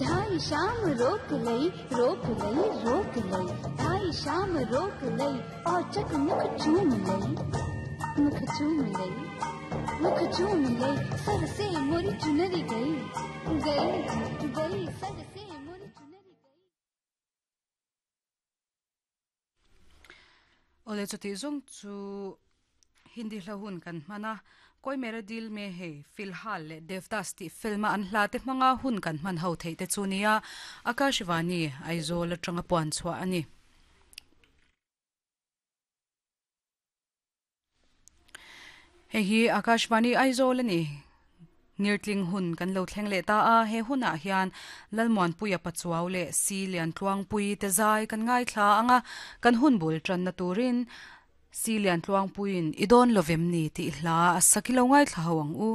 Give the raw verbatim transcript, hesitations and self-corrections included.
ढाई शाम रोक लई रोक लई रोक लई ढाई शाम रोक लई और चक मुख चूम लई मुख चूम लई मुख चूम लई सर से मोरी चुनरी गई गई गई सर से मोरी चुनरी गई Ole chuti zong chu Hindi hla hun kan hmana Koi Mere Dil Me Hai Filhal le Devdas ti filma an hla te hmanga hun kan hman ho thei te chu nia Akashvani Aizawl atanga puan chhuah ani. Hei hi Akashvani Aizawl ani ngirtling hun kan lo thleng leh ta a he hunah hian Lalmuanpuia Pachuau leh Si Lian Tluangpui te zai kan ngaithla anga kan hun bul tan na turin Si Lian Tluangpuiin i dawn lovem ni tih hla a sakilo ngaithla ho ang u.